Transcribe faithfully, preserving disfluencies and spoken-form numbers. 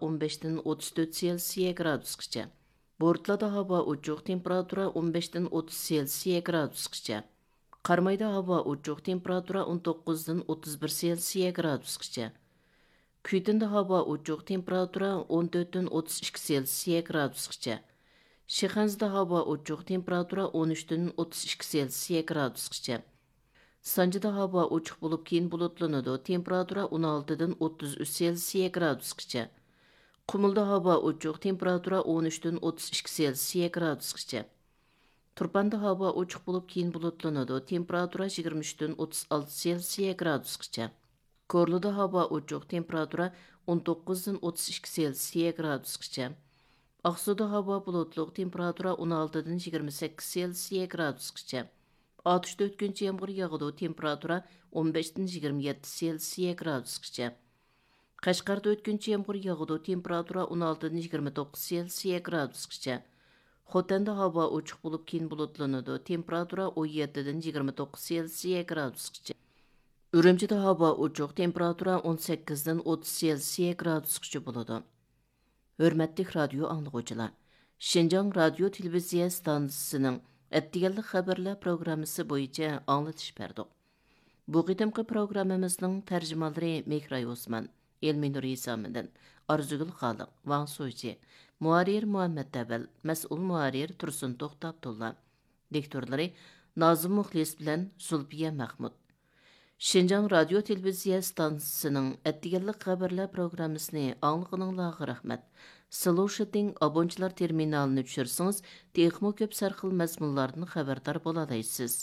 ئون بەشتىن ئوتتۇز تۆت سېلسىيە گرادۇسقىچە. بورتلادا ھاۋا ئوچۇق، تېمپېراتۇرا ئون بەشتىن ئوتتۇز سېلسىيە گرادۇسقىچە. قارامايدا ھاۋا ئوچۇق، تېمپېراتۇرا ئون توققۇزدىن ئوتتۇز بىر سېلسىيە گرادۇسقىچە. كۈيتىندە ھاۋا ئوچۇق، تېمپېراتۇرا ئون تۆتتىن ئوتتۇز ئىككى سېلسىيە گرادۇسقىچە. شىخەنزىدە ھاۋا ئوچۇق، تېمپېراتۇرا ئون ئۈچتىن ئوتتۇز ئىككى سېلسىيە گرادۇسقىچە. سانجىدا ھاۋا ئوچۇق بولۇپ، كېيىن بۇلۇتلىنىدۇ، تېمپېراتۇرا ئون ئالتىدىن ئوتتۇز ئۈچ سېلسىيە گرادۇسقىچە. قۇمۇلدا ھاۋا ئوچۇق، تېمپېراتۇرا ئون ئۈچتىن ئوتتۇز ئىككى سېلسىيە گرادۇسقىچە. تۇرپاندا ھاۋا ئوچۇق بولۇپ، كېيىن بۇلۇتلىنىدۇ، تېمپېراتۇرا يىگىرمە ئۈچتىن ئوتتۇز ئالتە سېلسىيە گرادۇسقىچە. كورلىدا ھاۋا ئوچۇق، تېمپېراتۇرا ئون توققۇزدىن ئوتتۇز ئىككى سېلسىيە گرادۇسقىچە. ئاقسۇدا ھاۋا بۇلۇتلۇق، تېمپېراتۇرا ئون ئالتىدىن يىگىرمە سەككىز سېلسىيە گرادۇسقىچە. ئاتۇشتا ئۆتكۈنچى يامغۇر ياغىدۇ، تېمپېراتۇرا ئون بەشتىن يىگىرمە يەتتە سېلسىيە گرادۇسقىچە. قەشقەردە ئۆتكۈنچى يامغۇر ياغىدۇ، تېمپېراتۇرا ئون ئالتىدىن يىگىرمە توققۇز سېلسىيە گرادۇسقىچە. خوتەندە ھاۋا ئوچۇق بولۇپ، كېيىن بۇلۇتلىنىدۇ، تېمپېراتۇرا ئون يەتتىدىن يىگىرمە توققۇز سېلسىيە گرادۇسقىچە. ئۈرۈمچىدە ھاۋا ئوچۇق، تېمپېراتۇرا ئون سەككىزدىن ئوتتۇز سېلسىيە گرادۇسقىچە بولىدۇ. ھۆرمەتلىك رادىيو ئاڭلىغۇچىلار، شىنجاڭ رادىيو تېلېۋىزىيە ئىستانسىسىنىڭ ئەتىگەنلىك خەۋەرلەر پروگراممىسى بويىچە ئاڭلىتىش بەردۇق. بۇ قېتىمقى پروگراممىمىزنىڭ تەرجىمانلىرى مېھراي ئوسمان، ئېلمىنۇر ھېسامىدىن، ئارزۇگۈل خالىق، ۋاڭ سۇچى، مۇھەررىر مۇھەممەت ئەۋەل، مەسئۇل مۇھەررىر تۇرسۇن توختى ئابدۇللا، دىكتورلىرى نازىم مۇخلىس بىلەن زۇلپىيە مەخمۇت. شىنجاڭ رادىيو تېلېۋىزىيە ئىستانسىسىنىڭ ئەتىگەنلىك خەۋەرلەر پروگراممىسىنى ئاڭلىغىنىڭلارغا رەھمەت. سلوشىتىڭ ئابونچىلار تېرمىنالىنى چۈشۈرسىڭىز، تېخىمۇ كۆپ سەرخىل مەزمۇنلاردىن خەۋەردار بولالايسىز.